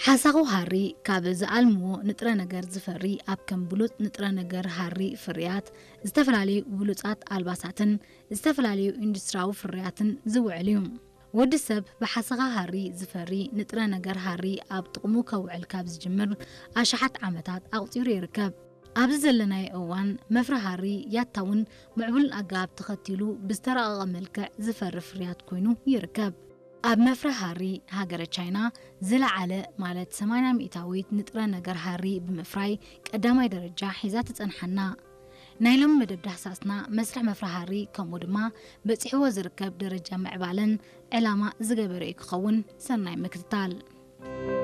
ሓሳኹ ሃሪ ካብ ዝኣልምዎ ንጥረ ነገር ዝፈሪ ኣብ ከም ብሉጽ ንጥረ ነገር ሃሪ ፍርያት፣ ዝተፈላለዩ ብሉጻት ኣልባሳትን ዝተፈላለዩ ኢንዱስትሪያዊ ፍርያትን ዝውዕል እዩ። ወዲ ሰብ ብሓሰኻ ሃሪ ዝፈሪ ንጥረ ነገር ሃሪ ኣብ ጥቕሙ ከውዕል ካብ ዝጅምር ኣሽሓት ዓመታት ኣቑጺሩ ይርከብ። ኣብዚ ዘለናዮ እዋን መፍረ ሃሪ ያታውን ምዕቡልን ኣገባብ ተኸቲሉ ብዝተራቐቐ መልክዕ ዝፈሪ ፍርያት ኮይኑ ይርከብ። ኣብ መፍረ ሃሪ ሃገረ ቻይና ዝለዓለ ማለት ሰማንያ ሚእታዊት ንጥረ ነገር ሃሪ ብምፍራይ ቀዳማይ ደረጃ ሒዛ ትጸንሓና። ናይ ሎም መደብ ዳህሳስና መስርሕ መፍረ ሃሪ ከምኡ ድማ በጺሕዎ ዝርከብ ደረጃ ምዕባለን ዕላማ ዝገበረ እዩ ክኸውን። ሰናይ ምክትታል።